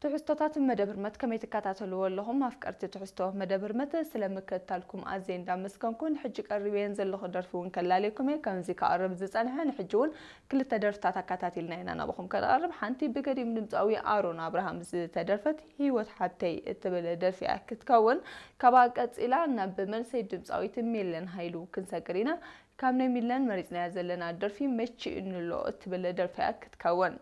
ትሕዝቶታት መደብ ህርመት ከመይ ትከታተልዎ ኣለኹም ኣፍቀርቲ ትሕዝቶ መደብ ህርመት? ስለምክትታልኩም ኣዝየ እንዳመስገንኩ፣ ንሕጂ ቀሪበየን ዘለኹ ደርፊ እውን ከላልየኩም እየ። ከምዚ ክቐርብ ዝጸንሐ፣ ንሕጂ እውን ክልተ ደርፍታት ኣከታቲልና ኢና ናባኹም ከነቕርብ። ሓንቲ ብገዲም ድምጻዊ ኣሮን ኣብርሃም ዝተደርፈት ህይወት ሓብተይ እትብል ደርፊ እያ ክትከውን። ካብኣ ቀጺላ ናብ መልሰይ ድምጻዊት ሚለን ሃይሉ ክንሰግር ኢና። ካብ ናይ ሚለን መሪጽናያ ዘለና ደርፊ መቺእንሎ እትብል ደርፊ እያ ክትከውን።